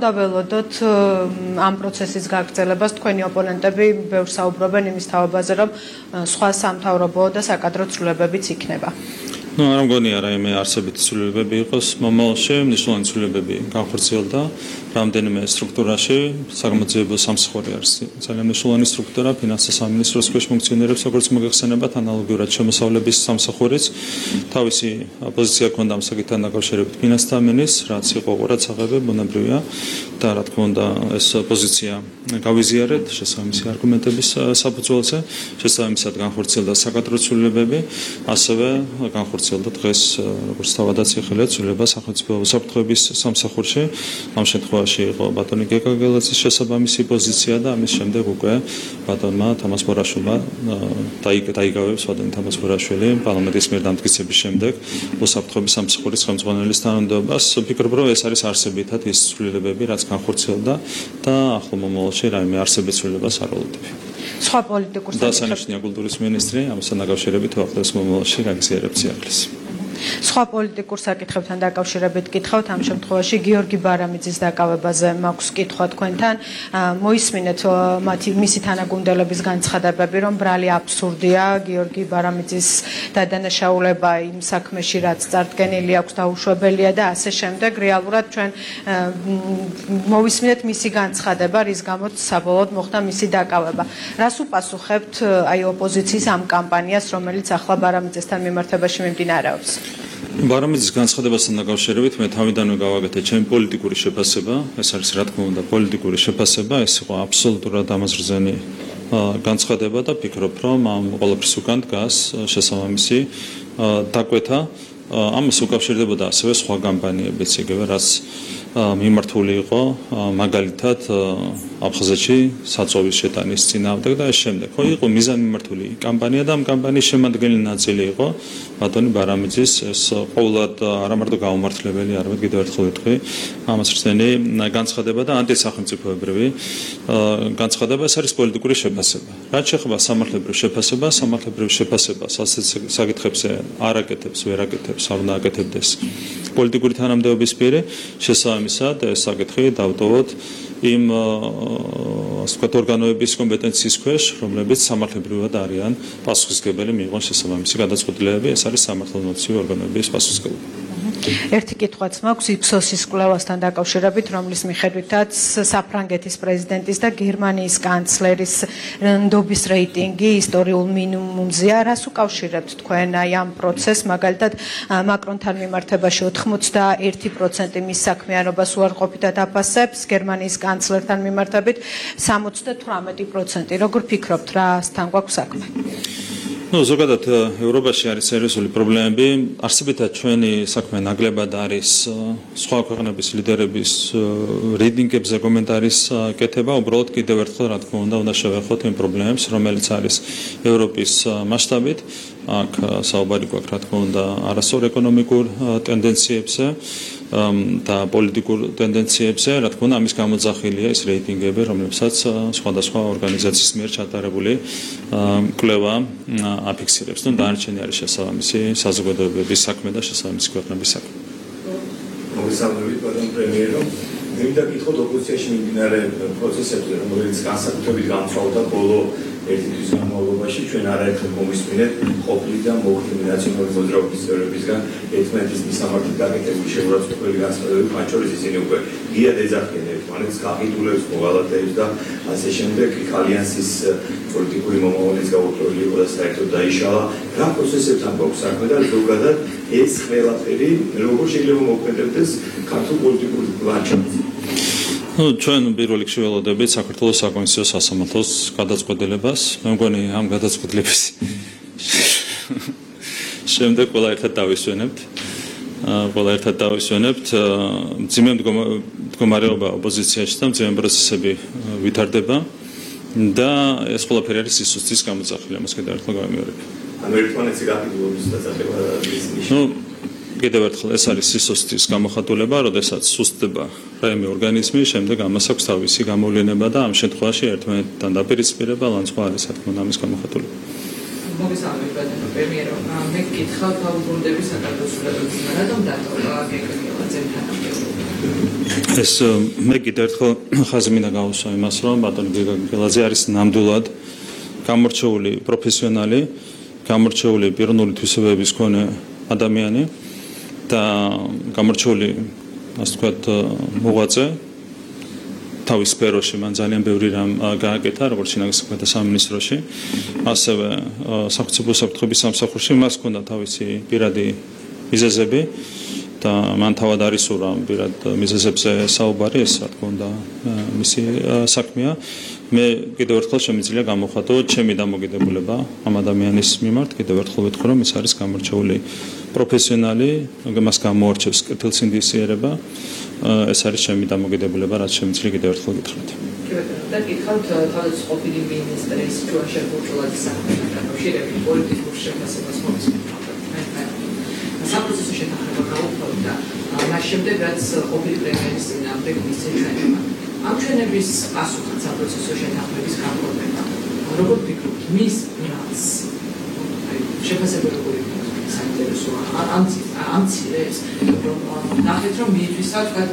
დაველოდოთ ამ პროცესის გაგრძელებას თქვენი ოპონენტები ბევრს საუბრობენ იმის თაობაზე, რომ სხვა სამთავრობო და საკადრო ცვლილებებიც იქნება. არ მგონია რაიმე არსებითი ცვლილებები იყოს მომავალში, მნიშვნელოვანი ცვლილებები განხორციელდა რამდენიმე სტრუქტურაში, საგამოძიებო სამსახური არის ძალიან მნიშვნელოვანი სტრუქტურა, ფინანსთა სამინისტროს ქვეშ ფუნქციონირებს, როგორც მოგეხსენებათ, ანალოგიურად შემოსავლების სამსახურიც. თავისი პოზიცია ჰქონდა ამ საკითხთან დაკავშირებით ფინანსთა მინისტრს, რაც იყო ყურადსაღები, ბუნებრივია და რა თქმა უნდა ეს პოზიცია გავიზიარეთ შესაბამისი არგუმენტების საფუძველზე, შესაბამისად განხორციელდა საკადრო ცვლილებები, ასევე განხორციელდა დღეს როგორც თავადაც იხილეთ ცვლილება სახელმწიფო უსაფრთხოების სამსახურში. ამ შემთხვევაში იყო ბატონი გეგაგელაძის შესაბამისი პოზიცია და ამის შემდეგ უკვე ბატონმა თამაზ ბორაშვილმა დაიგავებს ბატონი თამაზ ბორაშვილი პარლამენტის მიერ დამტკიცების შემდეგ უსაფრთხოების სამსახურის ხელმძღვანელის თანამდებობას. ვფიქრობ, რომ ეს არის არსებითად ის ცვლილებები, რაც განხორციელდა და ახლო მომავალში რაიმე არსებითი ცვლილებას არ ველოდები. სხვა პოლიტიკურ დასანიშნია კულტურის მინისტრი ამასთან დაკავშირებით უახლოეს მომავალში გაგზიარებს სიახლეს. სხვა პოლიტიკურ საკითხებთან დაკავშირებით გითხავთ ამ შემთხვევაში გიორგი ბარამიძის დაკავებაზე მაქვს კითხვა თქვენთან. მოისმინეთ მისი თანაგუნდელების განცხადებები, რომ ბრალი აბსურდია გიორგი ბარამიძის დადანაშაულება იმ საქმეში, რაც წარდგენილი აქვს, დაუშვებელია და ასე შემდეგ. რეალურად ჩვენ მოვისმინეთ მისი განცხადება, რის გამოც საბოლოოდ მოხდა მისი დაკავება. რას უპასუხებთ აი ოპოზიციის ამ კამპანიას, რომელიც ახლა ბარამიძესთან მიმართებაში მიმდინარეობს? ბარამიძის განცხადებასთან დაკავშირებით მე თავიდანვე გავაკეთე ჩემი პოლიტიკური შეფასება, ეს არის რა თქმა უნდა პოლიტიკური შეფასება, ეს იყო აბსოლუტურად ამაზრზენი განცხადება და ფიქრობ, რომ ამ ყველაფრის უკან დგას შესაბამისი დაკვეთა. ამას უკავშირდებოდა ასევე სხვა კამპანიებიც, იგივე რაც მიმართული იყო მაგალითად აფხაზეთში საწოვის შეტანის წინააღმდეგ და ეს შემდეგ. ხო იყო მიზანმიმართული კამპანია და ამ კამპანიის შემადგენელი ნაწილი იყო ბატონი ბარამიძის ეს ყოველად არა მარტო გაუმართლებელი, არამედ კიდევ ერთხელ ვიტყვი, ამასრწენი განცხადება და ანტისახელმწიფოებრივი განცხადება, ეს არის პოლიტიკური შეფასება. რაც შეეხება სამართლებრივ შეფასებას, სამართლებრივ შეფასებას ასეთ საკითხებზე არ აკეთებს, ვერ აკეთებს, არ უნდა აკეთებდეს პოლიტიკური თანამდებობის პირი, შესაბამისად ეს საკითხი დავტოვოთ იმ ასე ვთქვათ ორგანოების კომპეტენციის ქვეშ, რომლებიც სამართლებრივად არიან პასუხისმგებელი მიიღონ შესაბამისი გადაწყვეტილებები, ეს არის სამართალმომცემი ორგანოების პასუხისმგებლობა. ერთი კითხვაც მაქვს იფსოსის კვლევასთან დაკავშირებით, რომლის მიხედვითაც საფრანგეთის პრეზიდენტის და გერმანიის კანცლერის ნდობის რეიტინგი ისტორიულ მინიმუმზეა. რას უკავშირებთ თქვენ აი ამ პროცესს, მაგალითად მაკრონთან მიმართებაში 81% მის საქმიანობას უარყოფითად აფასებს, გერმანიის კანცლერთან მიმართებით 78%. როგორ ფიქრობთ, რასთან გვაქვს საქმე? ზოგადად ევროპაში არის სერიოზული პრობლემები. არსებითად ჩვენი საქმე ნაკლებად არის სხვა ქვეყნების ლიდერების რეიტინგებზე კომენტარის კეთება. უბრალოდ კიდევ ერთხელ რა თქმა უნდა შევეხოთ იმ პრობლემებს, რომელიც არის ევროპის მასშტაბით. აქ საუბარი გვაქვს რა თქმა უნდა არასწორ ეკონომიკურ ტენდენციებზე და პოლიტიკურ ტენდენციებზე, რა თქმა უნდა ამის გამოძახილია ის რეიტინგები, რომლებსაც სხვადასხვა ორგანიზაციის მიერ ჩატარებული კვლევა აფიქსირებს. დანარჩენი არის შესაბამისი საზოგადოებების საქმე და შესაბამისი ქვეყნების საქმე. მოგესალმებით, ბატონ პრემიერო. მინდა გითხოთ ოპოზიციაში მიმდინარე პროცესებზე, რომელიც განსაკუთრებით გამწვავდა ბოლო ერთი თვის განმავლობაში, ჩვენ არაერთხელ მომისმინეთ ყოფილი და მოხდილი ნაციონალური მოძრაობის წევრებისგან ერთმანეთის მისამართი გაკეთებული შეურაცხყოფელი განცხადებები, მათ შორის ისინი უკვე გიად ეძახიან ერთმანეთს, გაყიდულებს, მოღალატეებს და ასე შემდეგ. ალიანსის პოლიტიკური მომავლის გაურკვეველი იყო და საერთოდ დაიშალა. რა პროცესებთან გვაქვს საქმე და ზოგადად ეს ყველაფერი როგორ შეიძლება მოქმედებდეს ქართულ პოლიტიკურ ლანდშაფტში? ჩვენ პირველ რიგში ველოდებით საქართველოს საკონსტიტუციო სასამართლოს გადაწყვეტილებას. მე მგონი ამ გადაწყვეტილების შემდეგ ყველა ერთად დავისვენებთ. მძიმე მდგომარეობა ოპოზიციაში და მძიმე პროცესები ვითარდება და ეს ყველაფერი არის სისუსტის გამოძახილი. ამას კიდევ ერთხელ გავიმეორებ. ანუ ერთმანეთზე გაყიდულობის დასახება კიდევ ერთხელ ეს არის სისუსტის გამოხატულება, როდესაც სუსტდება რაიმე ორგანიზმი, შემდეგ ამას აქვს თავისი გამოვლენა და ამ შემთხვევაში ერთმანეთთან დაპირისპირება ლანძღვა არის რა თქმა უნდა ამის გამოხატულება. მოგესალმებით, ბატონო პრემიერო. მე გითხავთ აუბრუნდების საკადრო ცვლილებების რატომ დატოვა გეგმილაძემ თანამდებობა? ეს მე კიდევ ერთხელ ხაზი მინდა გავუსვა იმას, რომ ბატონი გელაძე არის ნამდვილად გამორჩეული პროფესიონალი, გამორჩეული პიროვნული თვისებების მქონე ადამიანი და გამორჩეული, ასე ვთქვათ, მოღვაწე. თავის სფეროში მან ძალიან ბევრი რამ გააკეთა, როგორც შინაგან საქმეთა სამინისტროში, ასევე სახელმწიფო საფრთხების სამსახურში მას ჰქონდა თავისი პირადი მიზეზები და მან თავად არის ურამ პირად მიზეზებზე საუბარი, ეს რა თქმა უნდა მისი საქმეა. მე კიდევ ერთხელ შემიძლია გამოვხატო ჩემი დამოკიდებულება ამ ადამიანის მიმართ, კიდევ ერთხელ ვეთქვი, რომ ის არის გამორჩეული პროფესიონალი, მას გამოარჩევს კეთილსინდისიერება. ეს არის ჩემი დამოკიდებულება, რაც შემიძლია კიდევ ერთხელ გითხრათ. და გითხავთ თავის ყოფილი მინისტრის ჯუანშერ ბურჟულაძის საქმეთან დაკავშირებით პოლიტიკურ შეფასებას მომისმენთ. საპროცესო შეთანხმება გაუქმდა და მას შემდეგ რაც ყოფილი პრემიერის წინააღმდეგ მისცე ჩვენება. ამ ჩვენების პასუხად საპროცესო შეთანხმების გამოყენება. როგორ ფიქრობთ, მის რაც შეფასებები საინტერესოა ამ ცილებს, რომ ნახეთ, რომ მიითვისა თქვა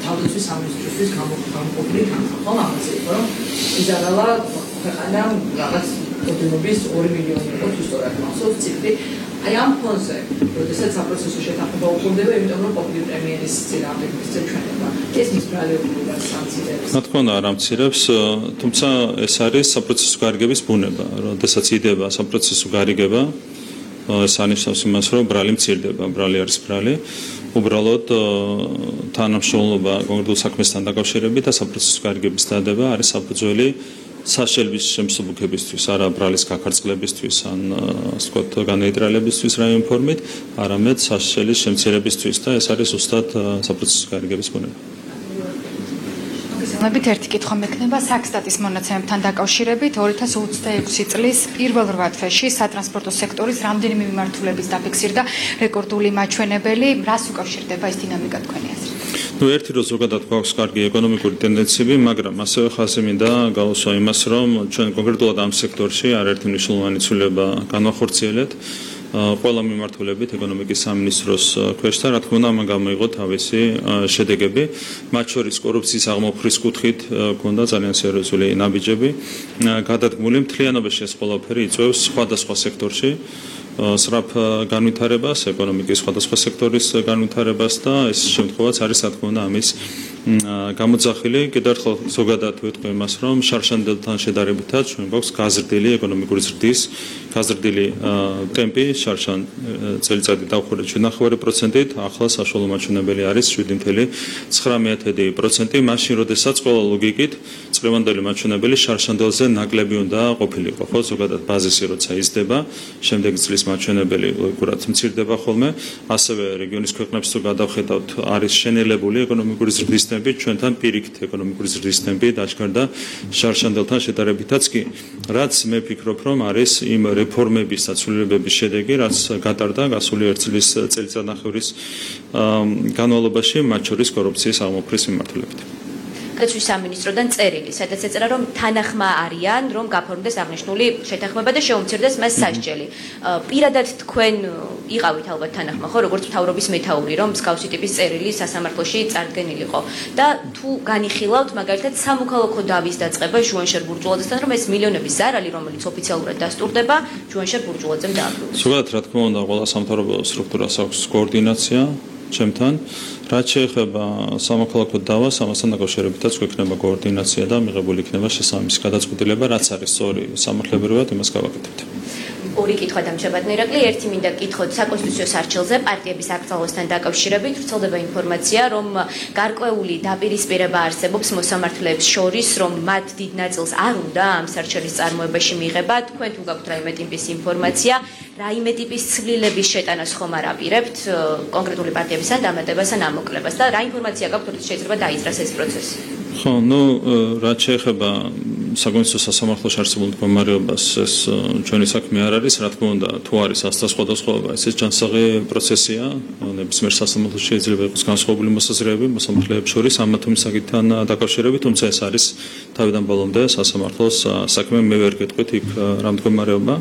თავდაცვის სამინისტროსთვის გამოყოფილი თანხმობა, ხო, ამაზე იყო, რომ იზარალა ქვეყანა რაღაც ოდენობის 2 მილიონი იყო თუ სწორად მახსოვს ციფრი. აი ამ ფონზე, როდესაც საპროცესო შეთანხმება უხურდება, იმიტომ რომ ყოფილი პრემიერის წინააღმდეგ მისცე ჩვენება. ეს მის ბრალეულობას ამცირებს. რა თქმა უნდა, არ ამცირებს, თუმცა ეს არის საპროცესო გარიგების ბუნება. როდესაც იდება საპროცესო გარიგება, ეს ანიშნავს იმას, რომ ბრალი მცირდება, ბრალი არის ბრალი. უბრალოდ თანამშრომლობა კონკრეტულ საქმესთან დაკავშირებით და საპროცესო გარიგების დადება არის საფუძველი საშელების შემსუბუქებისთვის, არა ბრალის გაქარწყლებისთვის, ან ასე ვთქვათ, განეიტრალებისთვის რაიმე ფორმით, არამედ საშელის შემცირებისთვის და ეს არის ზუსტად საპროცესო გარიგების ბუნება. მოგესალმებით, ერთი კითხვა მექნება საქსტატის მონაცემებთან დაკავშირებით 2026 წლის პირველ 8 თვეში სატრანსპორტო სექტორის რამდენიმე მიმართულების დაფიქსირდა რეკორდული მაჩვენებელი, რას უკავშირდება ეს დინამიკა თქვენი აზრით? ერთი რო ზოგადად გვაქვს კარგი ეკონომიკური ტენდენციები, მაგრამ ასევე ხაზი მინდა გავუსვა იმას, რომ ჩვენ კონკრეტულად ამ სექტორში არაერთი მნიშვნელოვანი ცვლილება განვახორციელეთ. ყველა მიმართულებით ეკონომიკის სამინისტროს ქვეშ და რა თქმა უნდა ამან გამოიღო თავისი შედეგები, მათ შორის კორუფციის აღმოფხრის კუთხით ჰქონდა ძალიან სერიოზული ნაბიჯები გადადგმული. მთლიანობაში ეს ყველაფერი იწვევს სხვადასხვა სექტორში სრაფ განვითარებას, ეკონომიკის სხვადასხვა სექტორის განვითარებას და ეს შემთხვევაც არის რა თქმა უნდა ამის გამოძახილი. კიდევ ერთხელ ზოგადად ვეთქვი იმას, რომ შარშანდელთან შედარებითაც ჩვენ გვაქვს გაზრდილი ეკონომიკური ზრდის, გაზრდილი ტემპი, შარშან წელიწადი დავხურეთ 7.9%-ით, ახლა საშუალო მაჩვენებელი არის 7.9%. მაშინ, როდესაც ყველა ლოგიკით წლევანდელი მაჩვენებელი შარშანდელზე ნაკლები უნდა ყოფილიყო, ხო, ზოგადად ბაზისი როცა იზრდება, შემდეგ წლის მაჩვენებელი ლოგიკურად მცირდება ხოლმე, ასევე რეგიონის ქვეყნებს თუ გადავხედავთ, არის შენელებული ეკონომიკური ზრდის ტემპი, ჩვენთან პირიქით ეკონომიკური ზრდის ტემპი დაჩქარდა შარშანდელთან შედარებითაც კი, რაც მე ფიქრობ, რომ არის იმ რეფორმების და ცვლილებების შედეგი, რაც გატარდა გასული 1 წლის წელიწადნახევრის განმავლობაში, მათ შორის კორუფციის აღმოფხრის მიმართულებით. გადაცვის სამინისტროდან წერილი, სადაც ეწერა, რომ თანახმა არიან, რომ გაფორმდეს აღნიშნული შეთანხმება და შეუმცირდეს მას სასჯელი. პირადად თქვენ იყავით ალბათ თანახმა, ხო, როგორც მთავრობის მეთაური, რომ მსგავსი ტიპის წერილი სასამართლოში წარდგენილიყო და თუ განიხილავთ მაგალითად სამოქალაქო დავის დაწყება ჟუანშერ ბურჟულაძესთან, რომ ეს მილიონების ზარალი, რომელიც ოფიციალურად დასტურდება, ჟუანშერ ბურჟულაძემ დააბრუნოს. ზოგადად, რა თქმა უნდა, ყველა სამთავრობო სტრუქტურას აქვს კოორდინაცია ჩემთან. რაც შეეხება სამოქალაქო დავას, ამასთან დაკავშირებითაც გვექნება კოორდინაცია და მიღებული იქნება შესაბამისი გადაწყვეტილება, რაც არის სწორი სამართლებრივად, იმას გავაკეთებთ. ორი კითხვა დამჩებადნე ირაკლი, ერთი მინდა გითხოთ საკონსტიტუციო სარჩელზე პარტიების აკრძალვასთან დაკავშირებით, ვრცელდება ინფორმაცია, რომ გარკვეული დაპირისპირება არსებობს მოსამართლეებს შორის, რომ მათ დიდ ნაწილს არ უნდა ამ სარჩელის წარმოებაში მიიღება. თქვენ თუ გაქვთ რაიმე ტიპის ინფორმაცია, რაიმე ტიპის ცვლილების შეტანას ხომ არ აპირებთ კონკრეტული პარტიების ან დამატებას ან ამოკლებას და რა ინფორმაცია გაქვთ, რომ შეიძლება დაიძრას ეს პროცესი? ხო, რაც შეეხება საკონსულტაციო სასამართლოში არსებულ მდგომარეობას ეს ჩვენი საქმე არ არის, რა თქმა უნდა, თუ არის ასთა სხვადასხვაობა, ეს ჯანსაღი პროცესია, ნებისმიერ სასამართლოში შეიძლება იყოს განსხვავებული მოსაზრებები მოსამართლეებს შორის ამა თუ იმ საკითხთან დაკავშირებით, თუმცა ეს არის თავიდან ბოლომდე სასამართლოს საქმე, მე ვერ გეტყვით იქ რა მდგომარეობა.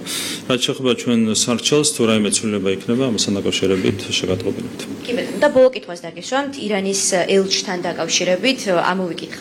რაც შეეხება ჩვენ სარჩელს, თუ რაიმე ცვლილება იქნება ამასთან დაკავშირებით შეგატყობინებთ. კი ბატონო, და ბოლო კითხვას დაგეშვამთ ირანის ელჩთან დაკავშირებით, ამოვიკითხავთ